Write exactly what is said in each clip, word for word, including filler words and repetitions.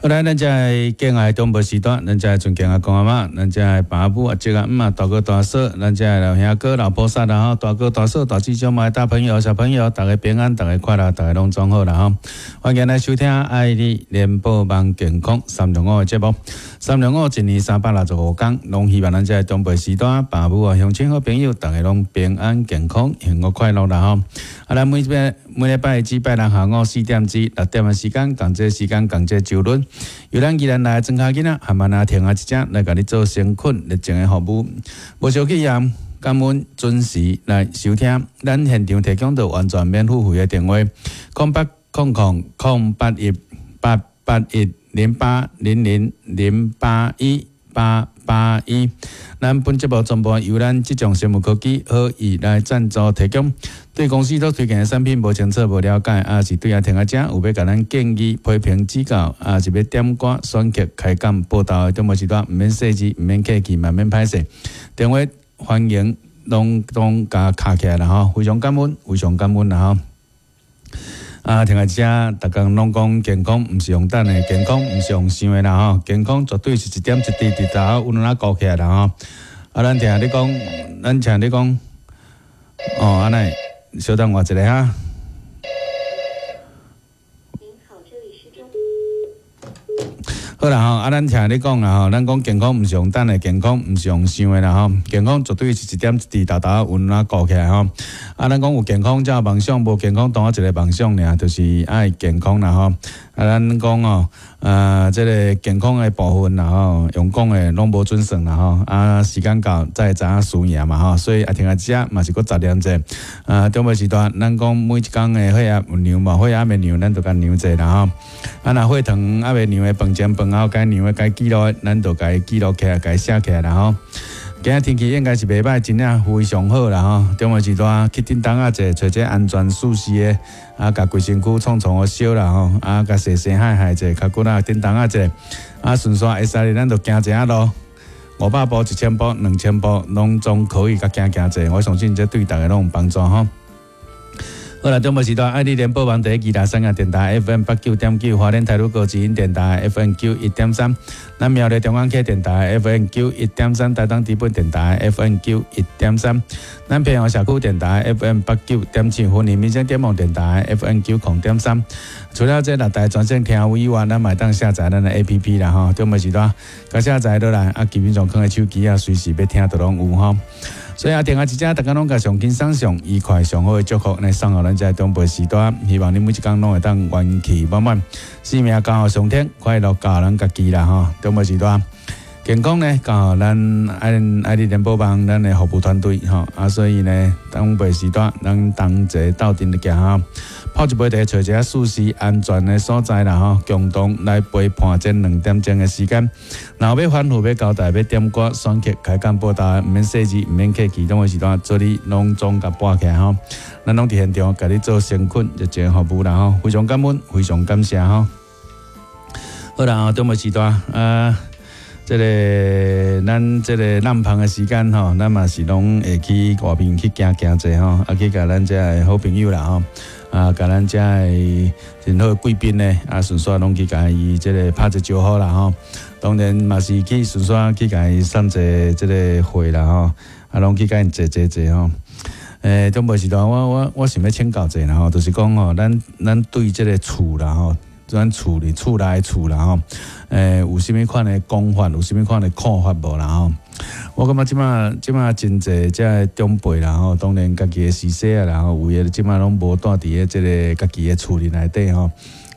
好來，咱遮的敬愛長輩時段，咱遮的尊敬阿公阿嬤，咱遮的爸母阿叔阿姆啊，大哥大嫂，咱遮的老兄哥老菩薩啦吼，大哥大嫂大姊小妹大朋友小朋友，逐家平安，逐家快樂，逐家攏總好啦吼。歡迎來收聽愛你聯播網健康三六五的節目，三六五一年三百六十五工，攏希望咱遮的長輩時段，爸母啊鄉親好朋友，逐家攏平安健康、幸福快樂啦吼。啊，咱每禮每禮拜至拜六下午四點至六點的時間，仝這時間，仝這時陣。由咱宜蘭來的莊跤囡仔，含慢仔停仔一隻來共你做誠懇熱情的服務，無小氣啊！感恩準時來收聽，咱現場提供著完全免付費的電話：空八空空空八一八八一零八零零零八一八八一。咱本節目全部由咱這種生物科技好意來贊助提供。對公司所推薦的產品無清楚、無了解，抑是對阿聽阿遮有欲共咱建議、批評、指教，抑是欲點歌、選曲、開講、報道的，中無時段，毋免細緻，毋免客氣，嘛免歹勢。電話歡迎攏總共敲起來啦吼，非常感恩，非常感恩啦吼。啊，聽阿遮，逐工攏講健康，毋是用等的，健康毋是用想的啦吼，健康絕對是一點一滴滴頭有哪顧起來啦吼。啊，咱聽你講，咱聽你講，哦，按呢，稍等我一下哈。您好，這裡是中。好啦吼，啊，咱聽你講啦吼，咱講健康毋是用等的，健康毋是用想的啦吼，健康絕對是一點一滴沓沓穩啊顧起來吼。啊，咱講有健康才有夢想，無健康當一個夢想爾，就是愛健康啦吼。啊，咱講哦，啊，這個健康的部分啦吼，用講的攏無準算啦吼。啊，時間到才會知影輸贏嘛吼，所以啊，聽下遮嘛是閣雜念者。啊，中晡時段，咱講每一工的血壓有量無？血壓未量，咱就共量者啦吼。啊，若血糖猶未量的飯前飯後該量的該記錄的，咱就共伊記錄起來，共伊寫起來啦吼。今仔天氣應該是袂䆀，真正非常好啦吼。中晡時段去叮當仔者，揣這安全舒適的，啊，共規身軀創創予燒啦吼，啊，共洗洗害害者，較骨力叮當仔者，啊，順紲會使咱就行一下路，五百步、一千步、兩千步，攏總可以共行行者。我相信這對逐家攏有幫助吼。好啦，中晡時段愛你聯播網第一宜蘭三亞電台 F M 八九點九，花蓮台魯閣之音電台 F M 九一點三，咱苗栗中央區電台 F M 九一點三，台東知本電台 F M 九一點三，咱平陽社區電台 F M 八九點七，雲林民生點網電台 F M 九零點三。除了這六台全線聽有以外，咱嘛會當下載咱的 A P P 啦吼。中晡時段，共下載落來，啊，基本上囥佇手機啊，隨時欲聽都攏有吼。所以啊，聽下一隻，逐家攏共上輕鬆上愉快上好的祝福，來送予咱這長輩時段。希望你每一工攏會當元氣滿滿，生命交予上天，快樂交予咱家己啦吼。長輩時段，健康呢交予咱愛愛你聯播網咱的服務團隊吼。啊，所以呢，長輩時段，咱同齊鬥陣來行吼，泡一杯茶，揣一个舒適安全的所在啦吼，共同來陪伴這兩點鐘的時間。若有欲吩咐、欲交代、欲點歌、選曲、開講報道，毋免細緻，毋免客氣，中晡時段做你攏總共撥起來吼。咱攏佇現場共你做誠懇熱情服務啦吼，非常感恩，非常感謝吼。好啦，中晡時段啊，這個咱這個南芳的時間吼，咱嘛是攏會去外面去行行者吼，啊去共咱遮的好朋友啦吼，啊共咱遮的真好貴賓呢，啊順紲攏去共伊這個拍一招呼啦吼。當然嘛是去順紲去共伊送一個這個會啦吼，啊攏去共𪜶坐坐坐吼。欸，中晡時段我我我想欲請教者啦吼，就是講吼，咱咱對這個厝啦吼，咱厝裡厝內厝啦吼，欸，有啥物款的講法，有啥物款的看法無啦吼？我感覺這馬這馬真濟遮的長輩啦吼，當然家己的序細啊啦吼，有的這馬攏無蹛佇咧這個家己的厝裡內底吼，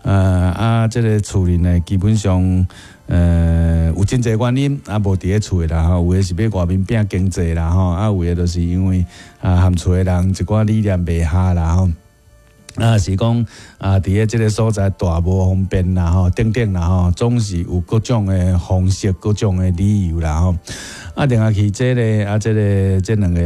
呃啊，這個厝裡呢，基本上呃有真濟原因啊，無佇咧厝的啦吼，有的是欲外面拼經濟啦吼，啊有的就是因為啊和厝的人一寡理念袂合啦吼。啊，是講啊，佇咧這個所在蹛無方便啦吼，等等啦吼，總是有各種的方式、各種的理由啦吼。啊，另外去這個啊，這個這兩個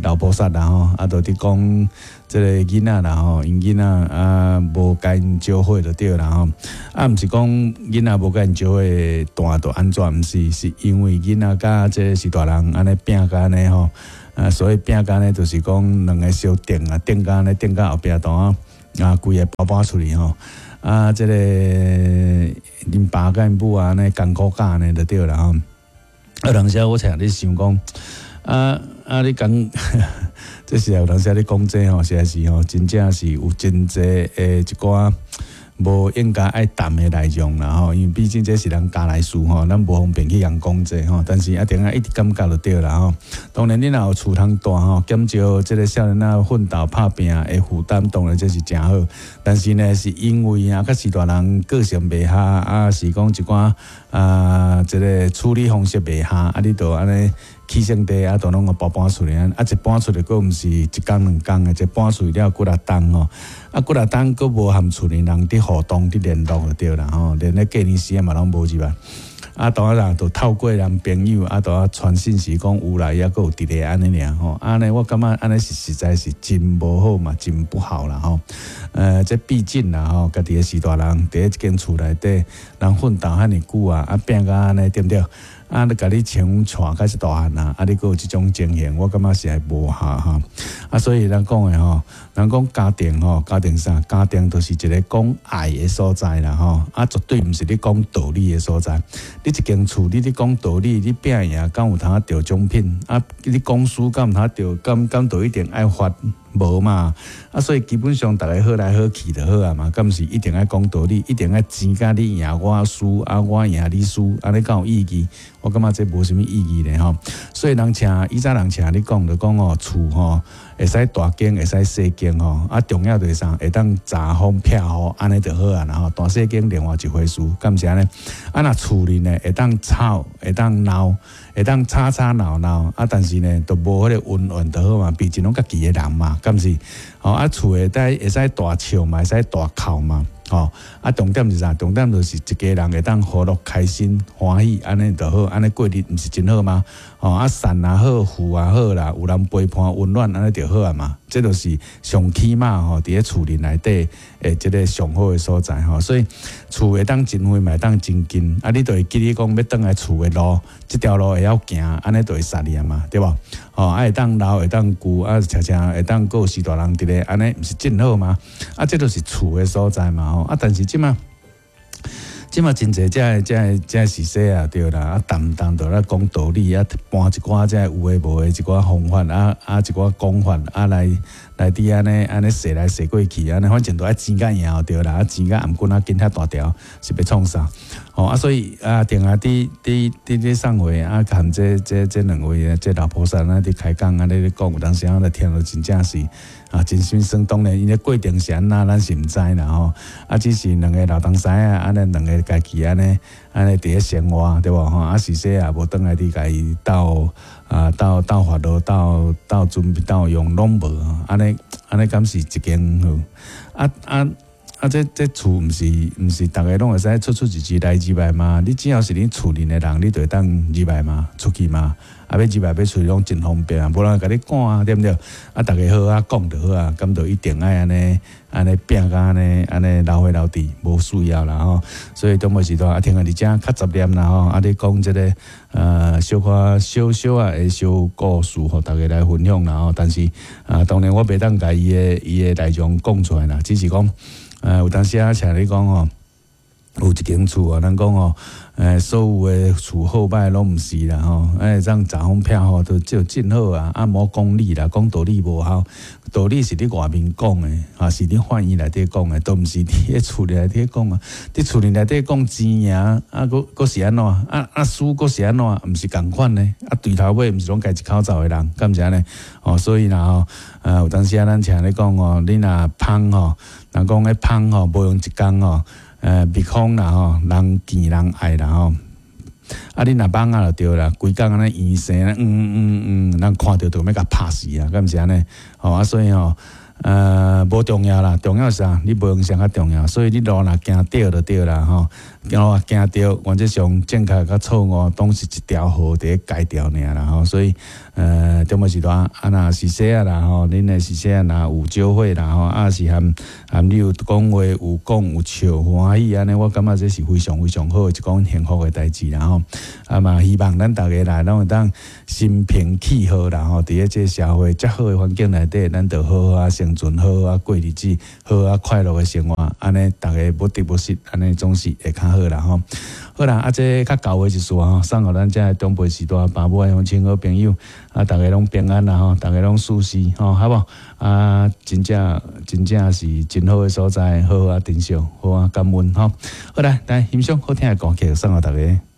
老菩薩啦吼，啊，就佇講這個囡仔啦吼，𪜶囡仔啊無共𪜶招伙就對啦吼。啊，毋是講囡仔無共𪜶招伙蹛就按怎，毋是，是因為囡仔佮這個是大人按呢拚甲按呢吼。啊，所以拚甲按呢，就是講兩个相頂啊，頂甲按呢，頂甲後壁度啊，啊，規个包包出去吼。啊，這个𪜶爸佮𪜶母啊，按呢艱苦教按呢就對啦吼。啊，有當時我聽咧想講，啊啊，你講，這是有當時咧講這吼，實在是吼，真正是有真濟的一寡無應該愛談的內容啦吼，因為畢竟這是人家內事吼，咱無方便去共講這吼。但是一定愛一直感覺就對啦吼。當然，你若有厝通大吼，減少這个少年仔奮鬥拍拚的負擔，當然這是誠好。但是呢，是因為啊，較是大人個性袂合，啊是講一寡啊，這个處理方式袂合，啊，你就按呢起性地啊，都攏予搬搬出來，啊，一搬出來閣毋是一工兩工的，一搬出去了幾若冬吼，啊，幾若冬閣無和厝裡人佇互動、佇聯絡就對啦吼，連咧過年時啊嘛攏無入來。啊，當然就透過人朋友啊，都啊傳信息講有來，抑閣有佇咧按呢爾吼。按呢我感覺按呢是實在是真無好嘛，真不好啦吼。呃，這畢竟啦吼，家己的序大人佇咧這間厝內底，人奮鬥遐爾久啊，啊拼甲按呢對毋對？啊，你共你像帶甲這大漢啊，啊，你閣有這種情形，我感覺是會無效吼。啊，所以咱講的吼，人講家庭吼，家庭啥？家庭就是一个講愛的所在啦吼。啊，絕對毋是你講道理的所在。你一間厝，你咧講道理，你拼贏敢有通得獎品？啊，你講輸敢有通得？敢敢都一定愛罰？無嘛。啊，所以基本上逐家好來好去就好啊嘛。敢毋是一定愛講道理，一定愛爭甲你贏我輸，啊我贏你輸，按呢敢有意義？我感覺這無啥物意義咧吼。所以人請以前人請你講，就講哦，厝吼會使大間，會使細間吼。啊，重要就是啥？會當查風避雨，按呢就好啊。然後大細間另外一回事，敢毋是按呢？啊，若厝裡呢會當吵，會當鬧，會當吵吵鬧鬧，啊，但是呢，都無彼个恩怨就好嘛。畢竟攏家己的人嘛，敢毋是？吼啊，厝會當會使大笑嘛，會使大哭嘛，吼啊，重點是啥？重點就是一家人會當和樂、開心、歡喜，按呢就好，按呢過日毋是真好嗎？吼啊，善也好，富也好啦，有人陪伴溫暖，按呢就好啊嘛。這就是上起碼吼，佇咧厝裡內底的這个上好的所在吼。所以厝會當真遠，嘛會當真近。啊，你就會記得講欲轉來厝的路，這條路會曉行，按呢就會殺你啊嘛，對無？吼啊，會當老，會當舊，啊，常常會當閣有序大人佇咧，按呢毋是真好嗎？啊，這就是厝的所在嘛吼。啊，但是這馬。這馬真濟這个這个這个時勢啊，對啦，啊，動毋動就咧講道理啊，搬一寡這个有的無的一寡方法啊啊，一寡講法啊，來來佇按呢按呢踅來踅過去，按呢反正都愛爭甲贏對啦，啊爭甲頷頸仔緊遐大條，是欲創啥？吼啊，所以啊，定定佇佇佇咧送會啊，含這這這兩位這老菩薩啊，佇開講按呢咧講，有當時仔咧聽著真正是啊，真心酸。當然，𪜶的過程是按怎，咱是毋知啦吼。啊，只是兩个老東西啊，按呢兩个家己按呢按呢佇咧生活，對無吼？啊，時勢也無轉來佇共伊鬥啊鬥鬥法度鬥鬥準備鬥用攏無，按呢按呢敢是一間好？啊啊啊！這這厝毋是毋是逐个攏會使出出入入來入來嘛？你只要是恁厝裡的人，你就會當入來嘛，出去嘛。啊，欲入來欲出去攏真方便啊，無人會共你趕啊，對毋對？啊，逐家好好講就好啊，敢就一定愛按呢按呢拚甲按呢按呢流血流滴，無需要啦吼。所以中晡時段啊，聽下佇遮較雜念啦吼，啊，咧講這个呃小可小小仔的小故事，予逐家來分享啦吼。但是啊，當然我袂當共伊的伊的內容講出來啦，只是講呃有當時啊，像你講吼，有一間厝啊，人講吼，欸，所有的厝好歹攏毋是啦吼，欸，這樣查風避雨都就真好啊。啊，莫講理啦，講道理無效，道理是佇外面講的，啊，是佇法院內底講的，都毋是佇咧厝內底講啊。佇厝內底講錢贏，啊，閣閣是按怎？啊啊輸閣是按怎？毋是仝款呢？啊，對頭尾毋是攏共一口罩的人，敢毋是按呢？哦，所以啦吼，呃，有當時啊，咱聽咧講吼，你若蜂吼，人講彼蜂吼，無用一工吼。呃，蜜蜂啦吼，人見人愛啦吼。啊，你若蠓仔就對啦，規工按呢螫生，嗯嗯嗯，人看著就欲共拍死啊，敢毋是按呢？吼啊，所以吼，呃，無重要啦，重要是啥？你無閒啥較重要，所以你路若行對就對啦吼，路若行對，原則上正確佮錯誤，攏是一條河佇咧改掉爾啦吼。所以，呃，中晡時段啊，若是說啊啦吼，恁的是說啊，若有酒會啦吼，啊是含含你有講話有講有笑歡喜按呢，我感覺這是非常非常好的一樁幸福的代誌啦吼。啊嘛，希望咱逐家來攏會當心平氣和啦吼，佇咧這個社會遮好的環境內底，咱就好好仔生。生存，好好仔過日子，好好仔快樂的生活，按呢逐家無得無失，按呢總是會較好啦吼。好啦，啊，這較厚的一束吼，送予咱遮的長輩序大爸母鄉親好朋友，啊，逐家攏平安啦吼，逐家攏舒適吼，好無？啊，真正真正是真好的所在，好好仔珍惜，好好仔感恩吼。好啦，來欣賞好聽的歌曲，送予逐家。